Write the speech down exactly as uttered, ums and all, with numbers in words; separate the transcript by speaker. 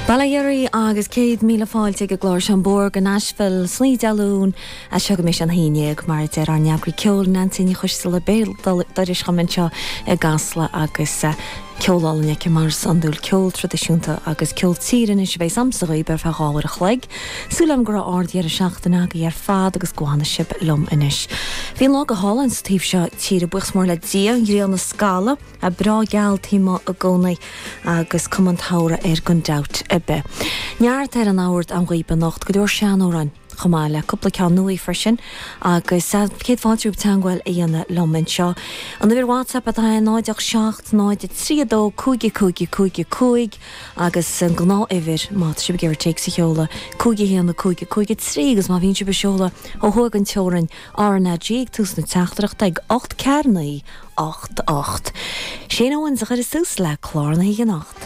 Speaker 1: Bail ó Dhia oraibh agus céad míle fáilte ag an gclár seo An Bóthar go Nashville san oíche Dé Luain as seo go mbeidh sé an haon déag mar a deir ár n-eagraí ceoil Neansaí Ní Choisteala béal dorais dhom anseo i gCasla agus ceol álainn aici mar is iondúil ceol traidisiúnta agus ceol tíre anois a bheas a'msa dhaoibh ar feadh dhá uair a chloig. Súil agam go raibh ard-dheireadh seachtaine agaibh ar fad agus go bhfanfaidh sibh liom anois. Bhí an lá go hálainn sa taobh seo tíre buíochas mór le Dia an ghrian ag scalladh a breá geal taobh amuigh i gcónaí agus cuma an tsamhraidh air gan dabht ar bith. Neart ar an mbord a'm dhaoibh anocht go leor seanamhráin chomh maith le cúpla ceann nua freisin agus céad fáilte romhaibh teagmháil a dhéanamh liom anseo. An uimhir WhatsApp atá é náid ocht seacht náid trí dó cúig cúig cúig cúig agus an gnáthuimhir má tá sibh ag iarraidh téacs a sheoladh cúig a haon cúig cúig trí agus má bhíonn sibh ag seoladh ó thuaidh an teorainn RnaG ag tús na teachtaireachta ag ocht ceathair naoi ocht ocht. Shane Owens a chuirfeas tús le clár na hoíche anocht.